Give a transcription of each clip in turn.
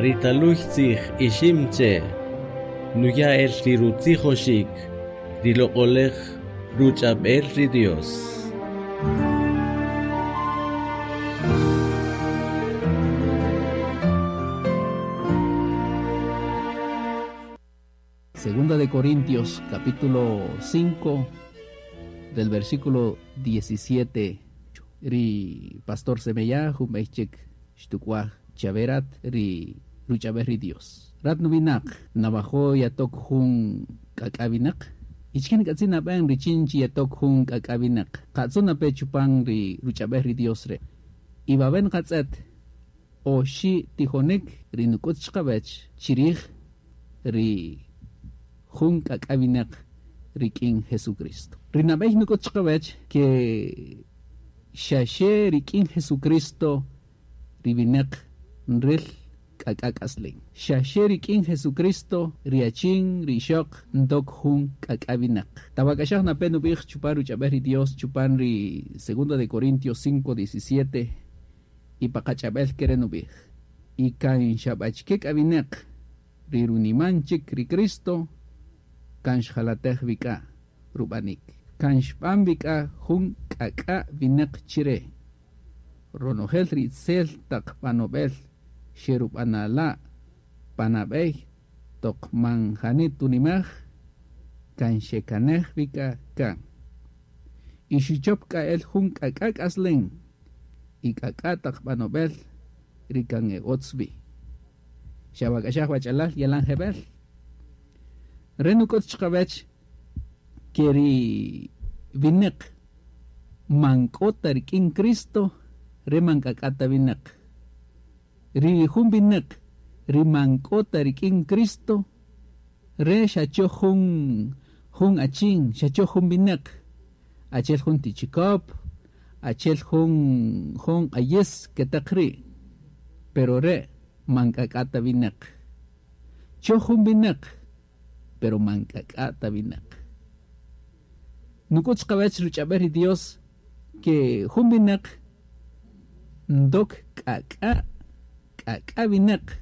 Ri taluy tzij ixim che, nuya el ri rutzijoxik, ri loq'olej ruch'ab'el ri Dios. Segunda de Corintios, capítulo 5, del versículo 17. Ri pastor Semeya, jun xtukwaj chaverat ri ruch'ab'ej ri Dios. Rat nuwinaq, navajo yatok jun k'ak'awinaq. Ichken k'atzin nab'en richin chi yatok jun k'ak'awinaq. Qatzu nape chupan ri ruch'ab'ej ri Dios re. Y baben qatz'et oxi tijonik ri nuk'ut chqawech chirij ri jun k'ak'awinaq rik'in Jesucristo. Ri nab'ey nuk'ut chqawech ke xaxe rik'in Jesucristo ri winaq nril k'ak'ak'aslin. Xaxe rik'in Jesucristo ri achin ri ixoq ndok jun k'ak'awinaq. Tawak'axaj nape nub'ij chupan ruch'ab'ej ri Dios chupan ri segunda de Corintios 5:17 y pa qach'ab'el kere nub'ij. Y kan xab'achike k'awinaq ri runiman chik ri Cristo kan xjalatej wik'a rub'anik. Kan xb'an wik'a jun k'ak'a winaq chire. Ronojel ri itzel taq b'anob'el xerub'anala' panab'ey toq man jani tunimaj kan xekanej wik'a kan. Y xuchop k'a el jun k'ak'a k'aslen y k'ak'a taq b'anob'el ri kan e otz wi. Xawak'axaj wach'alal yalan jeb'el. Re nuk'ut chqawech ke ri winaq man k'o ta rik'in Cristo re man k'ak'a ta winaq. Ri jun winaq ri man k'o ta rik'in Cristo re xacho jun jun achin, xacho jun winaq. Achel jun tichikop, achel jun jun q'ayis ketaq ri'. Pero re man k'ak'a ta winaq. Cho jun winaq, pero man k'ak'a ta winaq. Nuk'ut chqawech ruch'ab'ej ri Dios ke jun winaq ndok k'ak'a k'ak'a winaq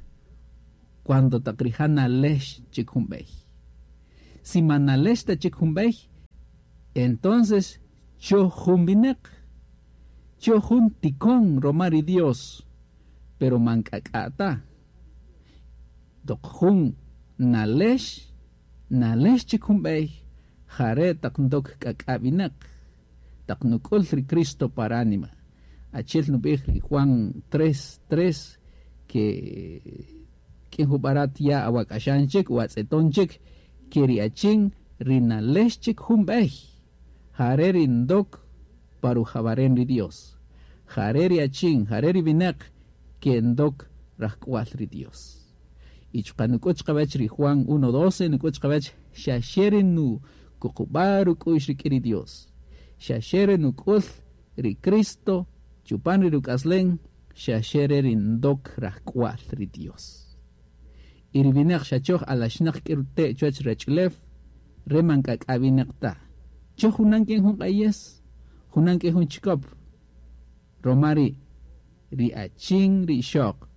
cuando taq rija' nalex chik jun b'ey. Si man nalex ta chik jun b'ey, entonces cho jun winaq, cho jun tikon roma ri Dios, pero man k'ak'a ta. Toq jun nalex, nalex chik jun b'ey, jare taq ndok k'ak'a winaq, taq nuk'ul ri Cristo para ánima. Achel nub'ij ri Juan 3:3 ke k'in jub'arat ya awak'axan chik o atz'eton chik ke ri achin ri nalex chik jun b'ey. Jare ri ndok parujabaren ri Dios. Jare ri achin, jare ri winaq ke ndok rajk'wal ri Dios. Y chuqa' nuk'ut chqawech ri Juan 1:12 nuk'ut chqawech xaxe ri nu kuqub'a ruk'u'x rik'in ri Dios. Xaxe ri nuk'ul ri Cristo chupan ri ruk'aslen xaxe re ri ndok rajk'wal ri Dios. Y ri winaq xachoj alaxnaq k'ir te' chuwach rach'ulew re man k'ak'a winaq ta. Cho junan k'in jun q'ayes, junan k'in jun chikop. Roma ri ri achin ri ixoq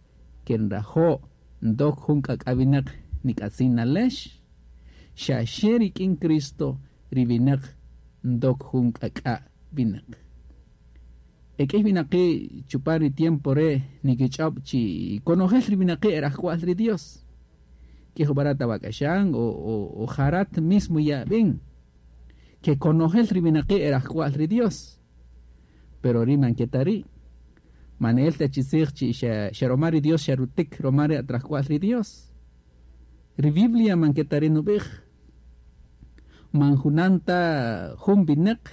ken rajo' ndok jun k'ak'a winaq nik'atzin nalex, xaxe rik'in Cristo ri winaq ndok jun k'ak'a winaq. Ek'ey winaqi' chupan ri tiempo re nikich'ob' chi konojel ri winaqi' erajk'wal ri Dios. K'ij jub'arat awak'axan o, o, o jarat mismo yab'in. Ke konojel ri winaqi' erajk'wal ri Dios. Pero ri man keta ri'. Man el ta chi tzij chi xa, xa roma ri Dios xa rutik roma ri atrajk'wal ri Dios. Ri Biblia man keta ri nub'ij. Man junanta jun winaq,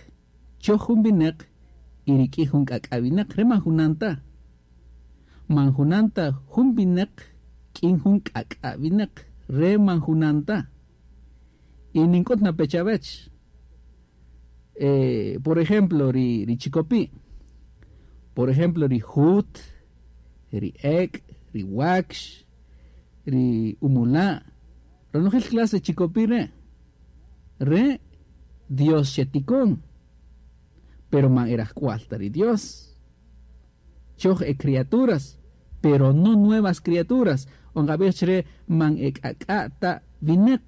cho jun winaq y rik'in jun k'ak'a winaq re man junanta. Man junanta jun winaq k'in jun k'ak'a winaq re man junanta. Y nink'ut na pechavech. Por ejemplo, ri, ri chikopi. Por ejemplo, ri jut, ri ek, ri wax, ri umula. Ronojel clase chikopi re. Re Dios xetikon. Pero man erajk'wal ta ri Dios. Choj e criaturas, pero no nuevas criaturas. O nqab'ij chi re man e k'ak'a' ta winäq,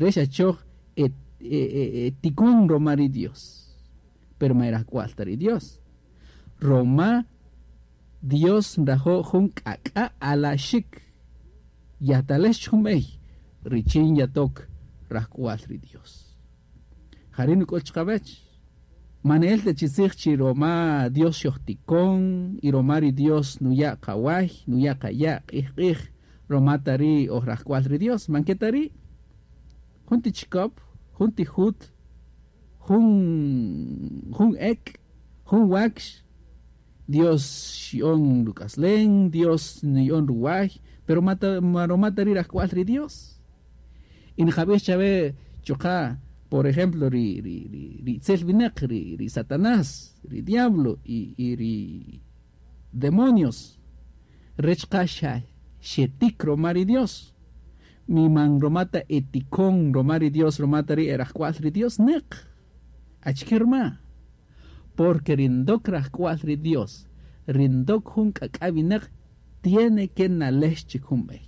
re xa choj e e tikon roma ri Dios, pero man e rajk'wal ta ri Dios. Roma Dios nrajo' jun k'ak'a' alaxik, yatalex chik jun b'ey richin yatok rajk'wal ri Dios. Jari' nuk'ül chiqawech. Man ne'el ta chi tzij chi roma Dios xojtikon y roma ri Dios nuya' qaway, nuya' qaya' q'ij-q'ij, roma ta ri' oj rajk'wal ri Dios. Man ke ta ri'. Jun ti chikop, jun ti jut, jun, jun ek', jun wakx, Dios xya'on ruk'aslen, Dios nuya'on ruway, pero ma ta, ma roma ta ri' rajk'wal ri Dios. Y nqab'ij chawe chuqa', por ejemplo, ri, ri, ri, ri itzel winäq, ri, ri Satanás, ri diablo y, y ri demonios, re chuqa' xa xetik roma ri Dios. Mi man roma ta etikon roma ri Dios, roma ta ri' e rajk'wal ri Dios, neq. Achike rma? Porque ri ndok rajk'wal ri Dios, ri ndok jun k'ak'a' winäq, tiene que nalex chik jun b'ey.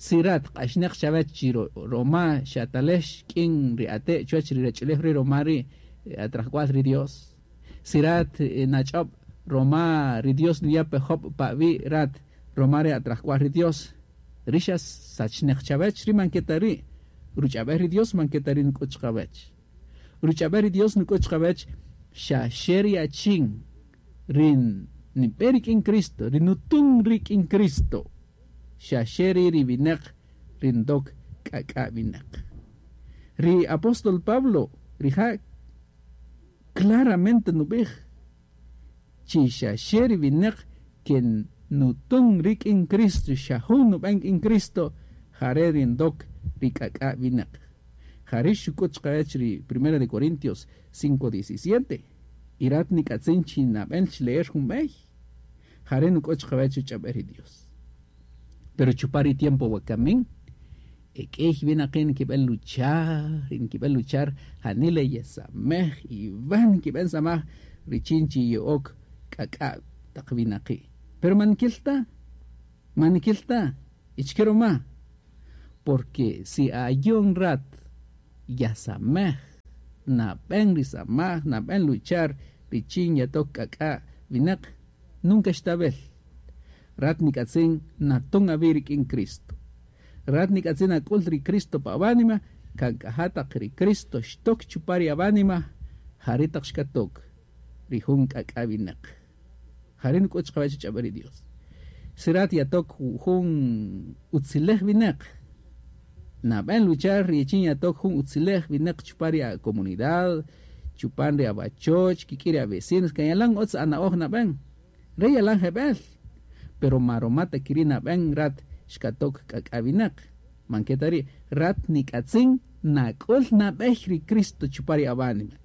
Si rat q'axneq chawech chi roma xatalex k'in ri ate' chuwech ri rach'ulew ri' roma ri' at rajk'wal ri Dios, si rat nach'ob' roma ri Dios nuya' pe job' pa awi' rat roma ri' at rajk'wal ri Dios, ri xa sachneq chawech, ri man ke ta ri'. Ruch'ab'el ri Dios man ke ta ri' nuk'ut chiqawech. Ruch'ab'el ri Dios nuk'ut chiqawech xa xe ri achin ri nib'e rik'in Cristo, ri nutun rik'in Cristo, xa xe ri' ri winäq ri ndok k'ak'a' winäq. Ri apóstol Pablo rija' claramente nub'ij chi xa xe ri winäq ke nutun rik'in Cristo, xa jun nub'en k'in Cristo, jare' ri ndok ri k'ak'a' winäq. Jari' xuk'ut chiqawech ri Primera de Corintios 5:17, Y rat nik'atzin chi nab'en chi leer jun b'ey. Jare' nuk'ut chiqawech ruch'ab'el ri Dios. Pero chupan ri tiempo wakamin, e k'ïy winaqi' nkib'än luchar y nkib'än luchar janila yesamej y van nkib'än samaj richin chi ye'ok k'ak'a' taq winaqi'. Pero man nkïl ta, man nkïl ta. Y achike ruma? Porque si ayon rat yasamej, nab'än ri samaj, nab'än luchar richin yatok k'ak'a' winäq, nunca xtab'el. Rat nik'atzin naton awi' rik'in Cristo. Rat nik'atzin nak'ül ri Cristo pa awánima, kan k'a ja taq ri Cristo xtok chupan ri awánima, jari' taq xkatok ri jun k'ak'a' winäq. Jari' nuk'üt chiqawech ruch'ab'äl ri Dios. Si rat yatok jun utziläj winäq, nab'än luchar richin yatok jun utziläj winäq chupan ri a-comunidad, chupan ri awachoch, kik'in ri a-vecinos, kan yalan utz ana'oj nab'än. Re' yalan jeb'ël, pero ma roma ta ke ri' nab'än rat xkatok k'ak'a' winäq. Man ke ta ri', rat nik'atzin nak'ül nab'ey ri Cristo chupan ri awánima.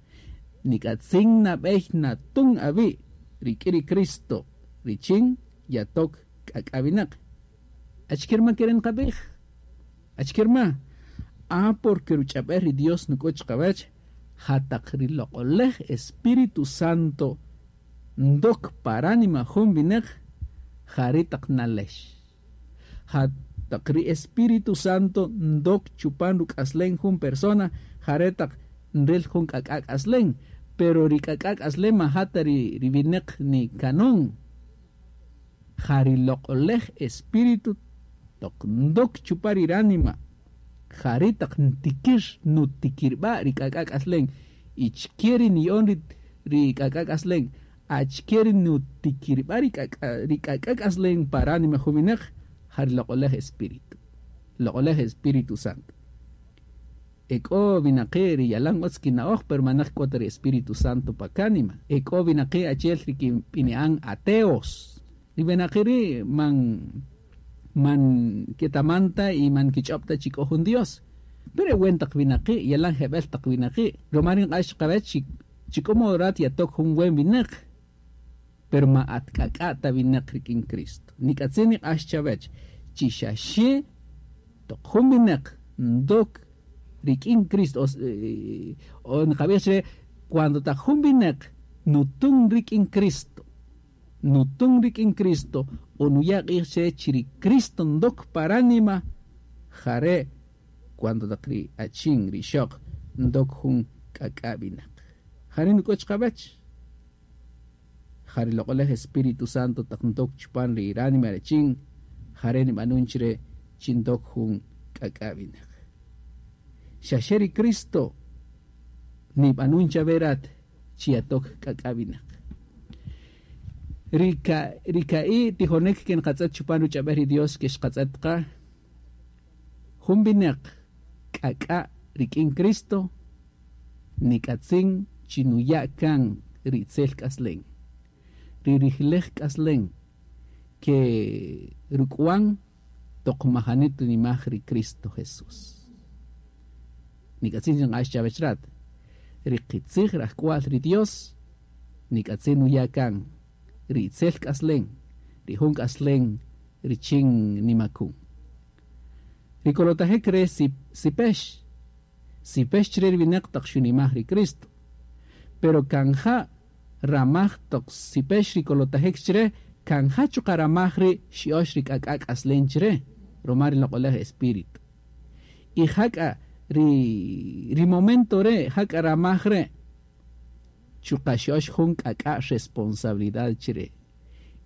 Nik'atzin nab'ey natun awi' rik'in ri Cristo richin yatok k'ak'a' winäq. Achike rma ke re' nqab'ij? Achike rma? Ah, porque ruch'ab'äl ri Dios nuk'üt chiqawech ja taq ri Loq'oläj Espíritu Santo ndok pa ránima jun winäq jari' taq nalex. Ja taq ri Espíritu Santo ndok chupan ruk'aslen jun persona, jare' taq nril jun k'ak'a' k'aslen. Pero ri k'ak'a' k'aslen man ja ta ri winäq nikanon. Ja ri Loq'oläj Espíritu toq ndok chupan ri ránima, jari' taq ntikir nutikirb'a' ri k'ak'a' k'aslen. Y chike ri niya'on ri ri k'ak'a' k'aslen, achike ri nutikirb'a' ri k'ak'a' ri k'ak'a' k'aslen pa ránima jun winäq, ja ri Loq'oläj Espíritu, Loq'oläj Espíritu Santo. E k'o winaqi' ri yalan utz kina'oj, pero manäq k'o ta ri Espíritu Santo pa kánima. E k'o winaqi' achi'el ri kib'ini'an ateos. Ri winaqi' ri' man man ketaman ta y man nkich'öb' ta chi k'o jun Dios. Pero e wen taq winaqi', yalan jeb'ël taq winaqi', ruma ri nq'ax chiqawech chi chi k'o modo rat yatok jun wen winäq, pero ma at k'ak'a' ta winäq rik'in Cristo. Nik'atzin niq'ax chawech chi xa xe toq jun winäq ndok rik'in Cristo, o nqab'ij chre cuando taq jun winäq nutün rik'in Cristo. Nutun rik'in Cristo o nuya' q'ij chre chi ri Cristo ndok pa ránima, jare' cuando taq ri achin, ri ixöq ndok jun k'ak'a' winäq. Jare' nuk'üt chiqawäch. Ja ri Loq'oläj Espíritu Santo taq ndok chupan ri ránima ri achin, jare' nib'anun chre chi ndok jun k'ak'a' winäq. Xa xe ri Cristo nib'anun chawe rat chi yatok k'ak'a' winäq. Ri ka ri ka'i' tijonik ke nqatz'ët chupan ruch'ab'äl ri Dios ke xqatz'ët qa, jun winäq k'ak'a' rik'in Cristo nik'atzin chi nuya' kan ri itzel k'aslen, ri rijlej k'aslen ke ruk'wan toq majani tunimaj ri Cristo Jesús. Nik'atzin chi nq'ax chawech rat, ri qitzij rajk'wa'l ri Dios nik'atzin nuya' kan ri itzel k'aslen, ri jun k'aslen richin nimakun. Ri kolotajik re sipex, sipex chre ri winäq taq xunimaj ri Cristo. Pero kan ja ramaj toq sipex ri kolotajik chre, kan ja chuqa' ramaj ri' xya'öx ri k'ak'a' k'aslen chre, ruma ri Loq'oläj Espíritu. Y jak'a ri ri momento re', jak'a ramaj re', chuqa' xya'öx jun k'ak'a' responsabilidad chre.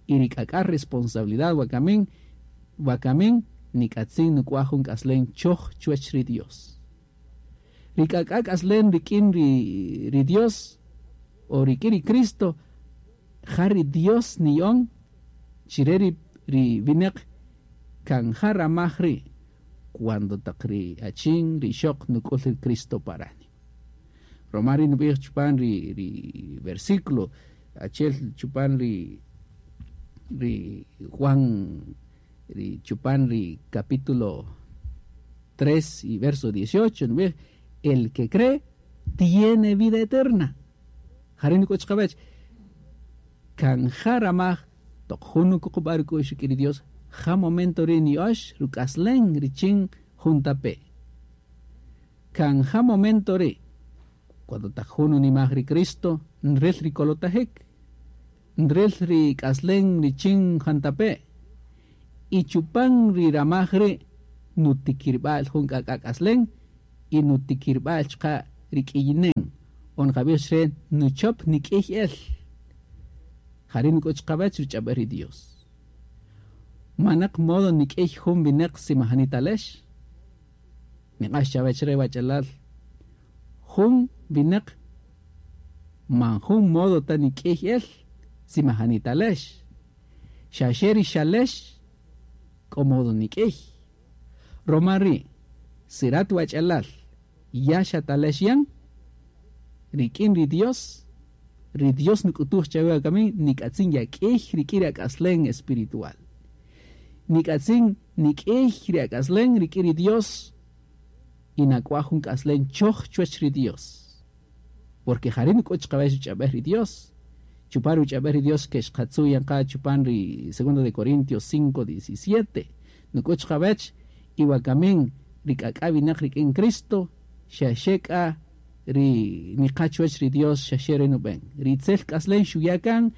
Y ri k'ak'a' responsabilidad wakamin, wakamin nik'atzin nuk'waj jun k'aslen choj chuwäch ri Dios. Ri k'ak'a' k'aslen rik'in ri ri Dios o rik'in ri Cristo, ja ri Dios niya'on chire ri ri winäq kan ja ramaj ri' cuando taq ri achin, ri ixöq nuk'ül ri Cristo pa ránima. Ruma ri' nub'ij chupan ri ri versículo achi'el chupan ri ri Juan ri chupan ri capítulo 3 y verso 18 nub'ij el que cree tiene vida eterna. Jare' nuk'üt chiqawäch kan ja ramaj toq jun nukuqub'a' ruk'u'x rik'in ri Dios, ja momento ri' niya'öx ruk'aslen richin jun tape'. Kan ja momento ri' cuando taq jun nunimaj ri Cristo nril ri kolotajik, nril ri k'aslen richin jantape', y chupan ri ramaj ri' nutikirb'a'l jun k'ak'a' k'aslen y nutikirb'a'l chuqa' ri k'iyinen, o nqab'ij chre nuchop nik'iy el. Jare' nuk'üt chiqawäch ruch'ab'äl ri Dios. Manaq modo nik'iy jun winäq si majani talex. Niq'ax chawech re wach'alal, jun winäq man jun modo ta nik'iy el si majani talex. Xa xe ri xalex k'o modo nik'iy. Roma ri' si rat wach'alal ya xatalex yan rik'in ri Dios, ri Dios nuk'utuj chawe wakami nik'atzin yak'iy rik'in ri ak'aslen espiritual. Nik'atzin nik'iy ri ak'aslen rik'in ri Dios y nak'waj jun k'aslen choj chuwäch ri Dios. Porque jare' nuk'üt chiqawech ruch'ab'äl ri Dios. Chupan ruch'ab'äl ri Dios ke xqatzu' yan qa chupan ri segundo de Corintios 5:17 nuk'üt chiqawech y wakamin ri k'ak'a' winäq rik'in Cristo xa xe k'a ri niqa chuwäch ri Dios xa xe re nub'en. Ri itzel k'aslen xuya' kan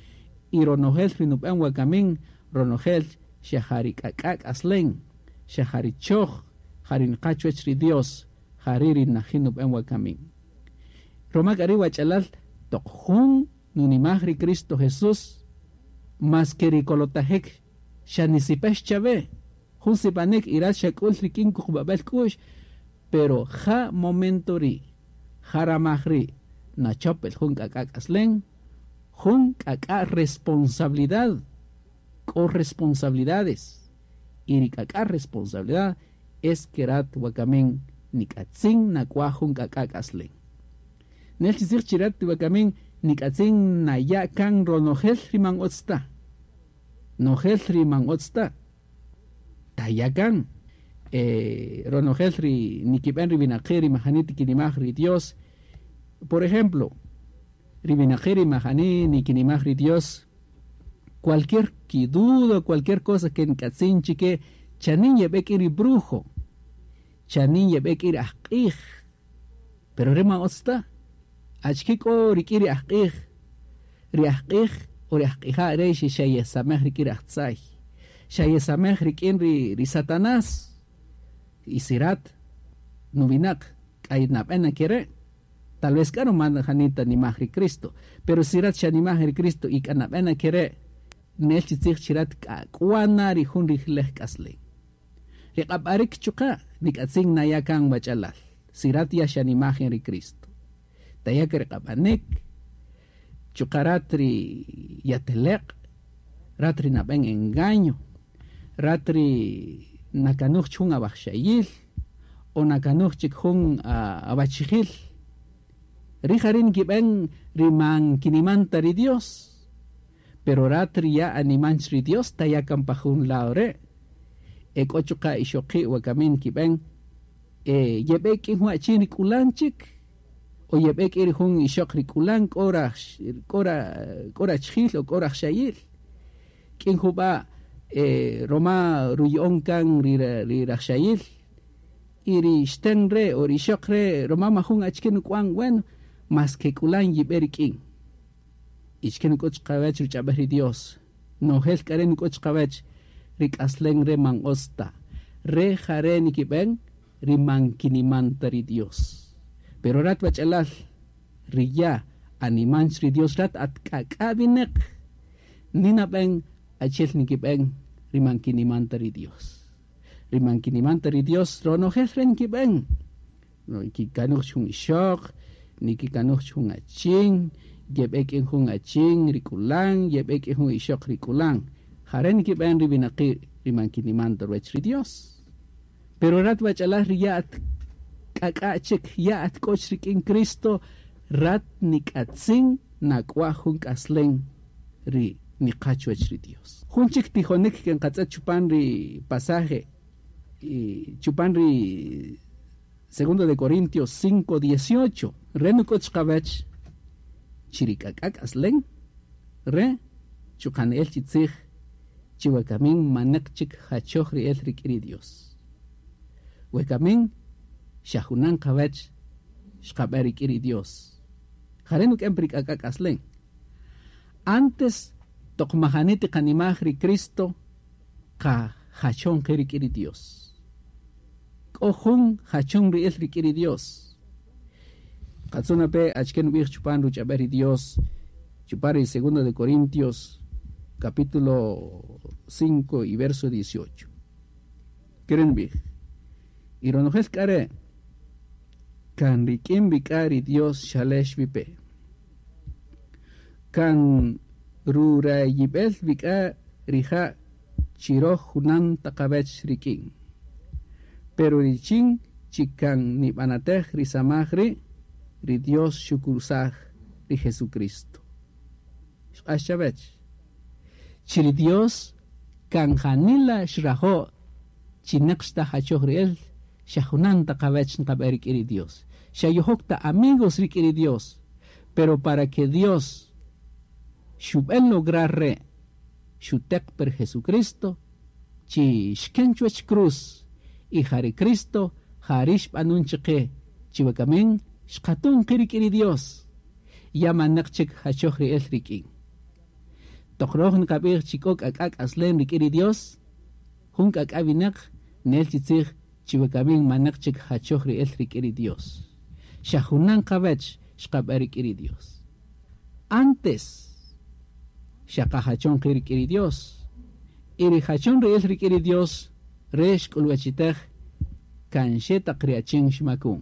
y ronojel ri nub'en wakamin ronojel xa ja ri k'ak'a' k'aslen, xa ja ri choj, ja ri niqa chuwäch ri Dios, ja ri' ri najin nub'en wakamin. Roma k'a ri' wach'alal toq jun nunimaj ri Cristo Jesús, más ke ri kolotajik xa nisipex chawe, jun sipanik y rat xak'ul rik'in kuqub'ab'äl k'u'x, pero ja momento ri', ja ramaj ri' nachop el jun k'ak'a' k'aslen, jun k'ak'a' responsabilidad, k'o responsabilidades, y ri k'ak'a' responsabilidad es ke rat wakamin nik'atzin nak'waj jun k'ak'a' k'aslen. Nel chi tzij chi rat wakamin nik'atzin naya' kan ronojel ri man utz ta. Nojel ri man utz ta. Taya' kan. Ronojel ri nikib'en ri winaqi' ri majani tikinimaj ri Dios. Por ejemplo, ri winaqi' ri majani nikinimaj ri Dios, cualquier kiduda, cualquier cosa ke nk'atzin chike, chanin yeb'e k'in ri brujo, chanin yeb'e k'in ri ajq'ij. Pero re man utz ta. Achike k'o rik'in ri ajq'ij? Ri ajq'ij O ri ajq'ija' re xa yesamej rik'in ri ajtzay. Xa yesamej rik'in ri Satanás. Y si rat nuwinaq k'a nab'en na ke re', tal vez k'a ruma janita nimaj ri Cristo. Pero si rat xanimaj ri Cristo y k'a nab'en na ke re', nel chi tzij chi rat k'a k'wana ri jun rijilej k'aslen. Ri q'ab'arik chuqa' nik'atzin naya' kan wach'alal. Si rat ya xanimaj ri Cristo. Taya' ri q'ab'anik, chuqa' rat ri yateleq', rat ri nab'en engaño, rat ri nakanuj chik jun awajxayil, o nakanuj chik jun awachijil. Ri jari' nkib'en ri man kiniman ta ri Dios. Pero rat ri ya animan ri Dios taya' kan pa jun lado re'. E k'o chuqa' ixoqi' wakamin nkib'en yeb'e k'in jun achin ri k'ulan chik, o yeb'e k'in ri jun ixoq ri k'ulan k'o rachijil o k'o rajxayil. K'in jub'a' roma ruya'on kan ri rajxayil y ri xten re' o ri ixoq re' roma majun achike nuk'wan, bueno, mas ke k'ulan yib'e rik'in. Y chike nuk'ut chiqawech ruch'ab'ej ri Dios. Nojel k'a re' nuk'ut chiqawech ri k'aslen re man utz ta. Re jare' nikib'en ri man kiniman ta ri Dios. Pero rat wach'alal, ri ya animan ri Dios rat at k'ak'a wineq, ninab'en achiel nikib'en ri man kiniman ta ri Dios. Ri man kiniman ta ri Dios ronojel re nikib'en. Nikikanuj jun ixoq, nikikanuj jun achin, yeb'e k'in jun achin ri k'ulan, yeb'e k'in jun ixoq ri k'ulan. Jare' nikib'en ri winaqi' ri man kiniman ta ruwech ri Dios. Pero rat wach'alal ri ya at k'ak'a chik, ya at k'o rik'in Cristo, rat nik'atzin nak'waj jun k'aslen ri niqa chuwech ri Dios. Jun chik tijonik ke nqatz'et chupan ri pasaje, chupan ri Segundo de Corintios 5:18, re nuk'ut chiqawech chi ri k'ak'a k'aslen, re chuqa' ne'el chi tzij chi wakamin maneq chik jachoj ri'el rik'in ri Dios. Wakamin xa junan qawech xqab'e rik'in ri Dios. Jare' nuk'en ri k'ak'a k'aslen. Antes toq majani tiqanimaj ri Cristo qa jachon qi rik'in ri Dios. K'o jun jachon ri'el rik'in ri Dios. Qatzuna pe achike nub'ij chupan ruch'ab'ej ri Dios, chupan ri segundo de Corintios capítulo 5 y verso 18. Kere' nub'ij: Y ronojel k'a re' kan rik'in wi k'a ri Dios xalex wi pe. Kan rurayib'el wi k'a rija' chi roj junan ta qawech rik'in. Pero richin chi kan nib'anatej ri samaj ri', ri Dios xukusaj ri Jesucristo. Xq'ax chawech. Chi ri Dios kan janila xrajo' chi neq xta jachoj ri'el, xa junan ta qawech nqab'e rik'in ri Dios. Xa yojok ta amigos rik'in ri Dios. Pero para que Dios xub'en lograr re' xuteq per Jesucristo chi xken chuwech cruz y ja ri Cristo jari' xb'anun chiqe chi wakamin xqatun qi rik'in ri Dios. Ya maneq chik jachoj ri'el rik'in. Toq roj nqab'ij chi k'o k'ak'a k'aslen rik'in ri Dios, jun k'ak'a winaq nel chi tzij chi wakamin maneq chik jachoj ri'el rik'in ri Dios. Xa junan qawech xqab'e rik'in ri Dios. Antes xa qajachon qi rik'in ri Dios. Y ri jachon ri'el rik'in ri Dios re xk'ulwachitej kan xe taq ri achin xmakun.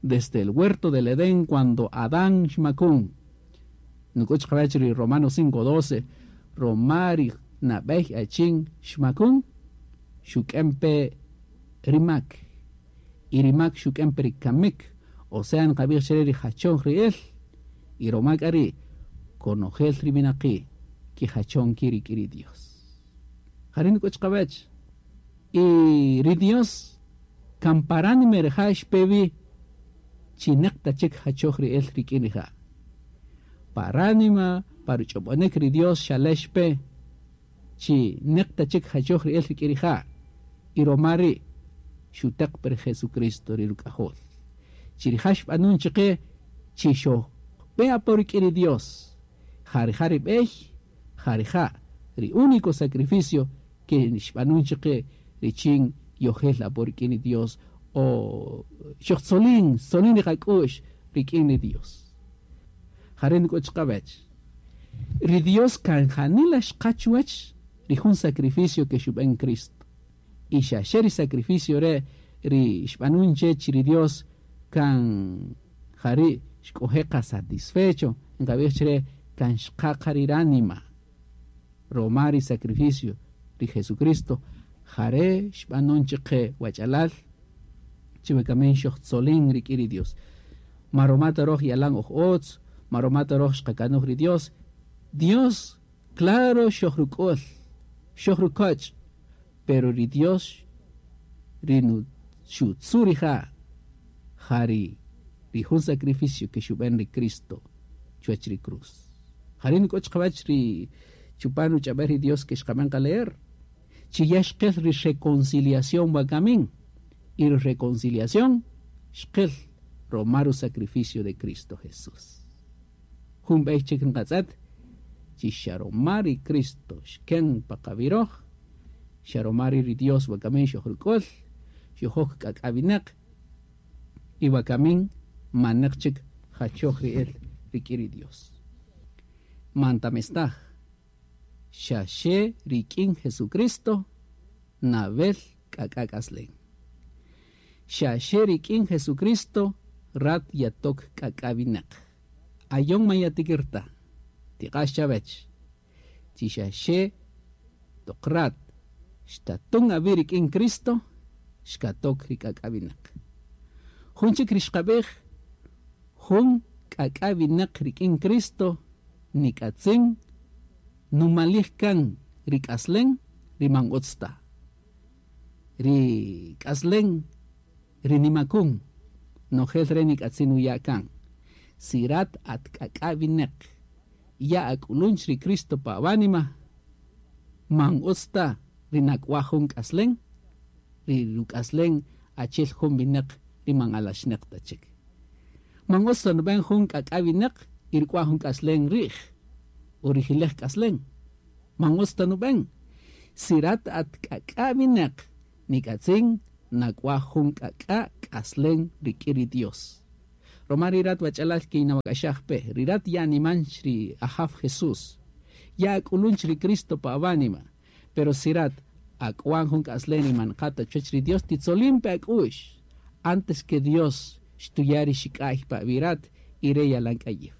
Desde el huerto del Edén cuando Adán xmakun. Nuk'ut chiqawech ri Romanos 5:12, roma ri nab'ey achin xmakun, xuk'en pe ri mak. Y ri mak xuk'en pe ri kamik, o sea nqab'ij chire ri jachon ri'el, y roma k'a ri' konojel ri winaqi' kijachon ki rik'in ri Dios. Jari' nuk'ut chiqawech. Y ri Dios kan paránime rija' xpe wi chi neq ta chik jachoj ri'el rik'in rija'. Paránima, pa ruch'ob'onik ri Dios xalex pe chi neq ta chik jachoj ri'el rik'in rija'. Y roma ri' xuteq per Jesucristo ri ruk'ajol. Chi rija' xb'anun chiqe chi xojb'e apo rik'in ri Dios. Ja rija' ri b'ey Ja rija', ri único sacrificio ke xb'anun chaqe richin yojel apo rik'in ri Dios o xojtzolin, xtzolin ri qak'u'x rik'in ri Dios. Jare' nik'o chiqawech. Ri Dios kan janila xqa chuwech ri jun sacrificio ke xub'en Cristo. Y xa xe ri sacrificio re' ri xb'anun che chi ri Dios kan jari' xk'oje' qa satisfecho, nqab'ij chre kan xqa qa ri ránima. Roma ri sacrificio ri Jesucristo jare' xb'anun chaqe wach'alal chi wakamin xojtzolin rik'in ri Dios. Ma roma ta roj yalan oj utz, ma roma ta roj xqakanuj ri Dios. Dios, claro, xojruk'ul, xojrukoch', pero ri Dios ri nu xutzu rija' ja ri jun sacrificio ke xub'en ri Cristo chuwach ri cruz. Jari' nik'o chiqawach ri chupan ruch'ab'el ri Dios ke xqab'en qaleer. Chi ya xqel ri reconciliación wakamin. Y ri reconciliación xqel roma ru sacrificio de Cristo Jesús. Jun b'ey chik nqatz'et chi xa roma ri Cristo xken pa qab'iroj, xa roma ri Dios wakamin xojruk'ul, xojok k'ak'awinaq y wakamin manaq chik jachoj ri el rik'in ri Dios. Mantamestaj, xa xe rik'in Jesucristo nawel k'ak'ak'aslen. Xa xe rik'in Jesucristo rat yatok k'ak'awinaq. Ayon mayatikirta, tiqax chavech. Chi xa xe toq rat xtatun awi rik'in Cristo, xkatok ri k'ak'awinaq. Jun chik ri xqab'ij, jun k'ak'awinaq rik'in Cristo nik'atzin numalij kan ri k'aslen ri man utz ta. Ri k'aslen ri nimakun nojel re nik'atzin nuya' kan. Si rat at k'ak'awinaq ya ak'ulunch ri Cristo pa awánima, man utz ta ri nak'waj jun k'aslen, ri ruk'aslen achel jun winaq ri man alaxnaq ta chik. Man utz ta nub'en jun k'ak'awinaq y ruk'waj jun k'aslen ri'j o rijilej k'aslen. Man utz ta nub'en. Si rat at k'ak'awinaq nik'atzin nak'waj jun k'ak'a k'aslen rik'in ri Dios. Roma ri rat wach'alal kinawak'axaj pe, ri rat ya animanch ri Ajaf Jesús, ya ak'ulunch ri Cristo pa awánima, pero si rat ak'wan jun k'aslen ri man qata chuwach ri Dios titzolin pe ak'u'x antes que Dios xtuya ri xik'a'y pa awirat y re yalan k'ayij.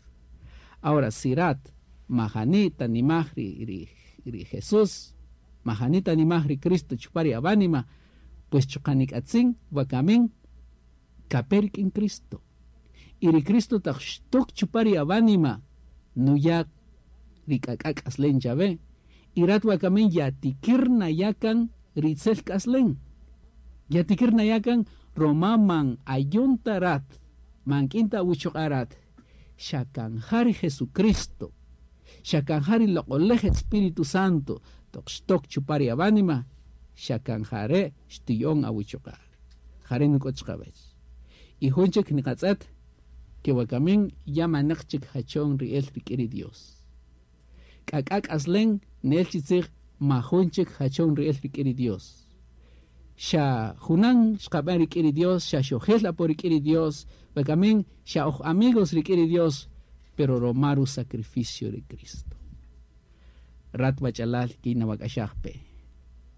Ahora si rat majani tanimaj ri Jesús, majani tanimaj ri Cristo chupa ri awánima, pues chuqa nik'atzin wakamin kape rik'in Cristo. Y ri Cristo taq xtok chupa ri awánima nuya ri k'ak'a k'aslen chawe. Y rat wakamin yatikir nayakan ritzel k'aslen. Yatikir nayakan roma man ayonta rat, man k'inta awuchoq'a rat, xa kan ja ri Jesucristo, xa kan ja ri loq'olej Espíritu Santo toq xtok chupa ri awánima, xa kan jare' xtiya'on awuchoq'a. Jare' nik'o chiqawech. Y jun chik niqatz'et ke wakamin ya manaq chik jachon ri'el rik'in ri Dios. K'ak'a k'aslen ne'el chi tzij ma jun chik jachon ri'el rik'in ri Dios. Xa junan xqab'an rik'in ri Dios, xa xojel apo rik'in ri Dios, wakamin xa oj amigos rik'in ri Dios, pero roma ru sacrificio ri Cristo. Rat wach'alal kinawak'axaj pe.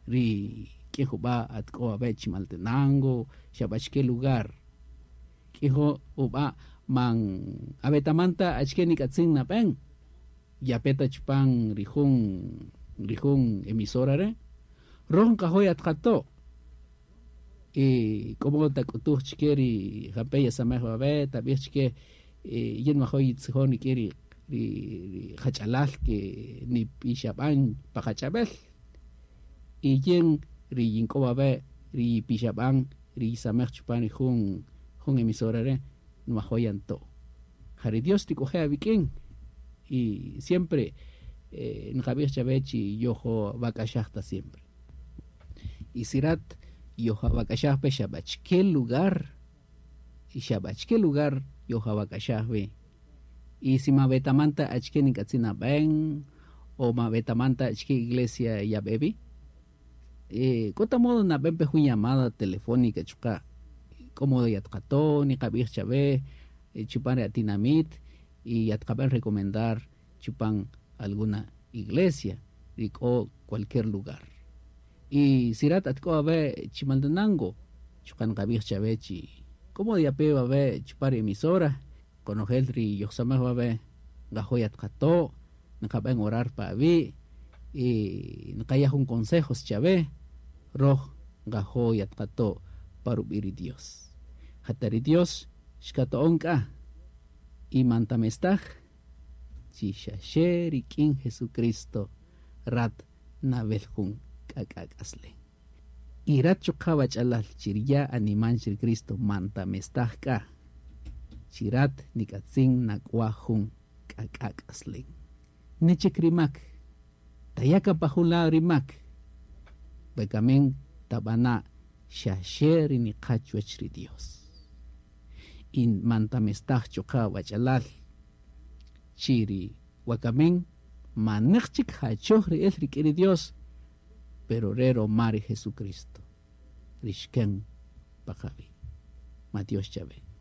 Ri k'in jub'a' at k'o awe' Chimaltenango, xa b'achike lugar. K'ijo ub'a' man awetamanta achike nik'atzin nab'en. Yapeta chupan ri jun emisora re'. Roj nqajo' yatqato'. Y k'o tak'utuj chike ri jampe' yasamej wawe', tab'ij chike yin nwajo' yitzijon rik'in ri qach'alal ke nipixab'an pa qach'ab'el. Y yin ri yink'o wawe' ri yipixab'an ri yisamej chupan ri jun emisora re' nwajo' yanto'. Ja ri Dios tik'oje' awik'in y siempre nqab'ij chawe chi yojo wak'axaj ta siempre. Y si rat yojo wak'axaj pe xa b'achike lugar, y xa b'achike lugar yojo wak'axaj wi. Y si ma wetamanta achike nik'atzin nab'en o ma wetaman ta achike iglesia yab'e wi, k'o ta modo nab'en pe jun llamada telefónica chuqa' k'o modo yatqato' niqab'ij chawe chupan ri atinamit y yatqab'en recomendar chupan alguna iglesia ri k'o cualquier lugar. Y si rat atk'o awe' Chimaltenango, chuqa' nqab'ij chawe chi k'o modo yape wawe' chupan ri emisora, konojel ri yojsamaj wawe' nqajo' yatqato', nqab'en orar pa awi' y nqaya' jun consejos chawe, roj nqajo' yatqato' pa rub'i' ri Dios. Jata ri Dios xkato'on k'a y man tamestaj chi xa xe rik'in Jesucristo rat nawel jun k'ak'a' k'aslen. Y rat chuqa' wach'alal chi riya' animan chi ri Cristo man tamestaj k'a chi rat nik'atzin nak'waj jun k'ak'a' k'aslen. Nechik ri mak, taya' kan pa jun lado ri mak, wekamin tab'ana' xa xe ri niqa chuwäch ri Dios. Y man tamestaj chuqa' wach'alal chi ri wakamin manäq chik jachoj ri el rik'in ri Dios, pero re roma ri Jesucristo ri xken pa qawi'. Matiox chawe.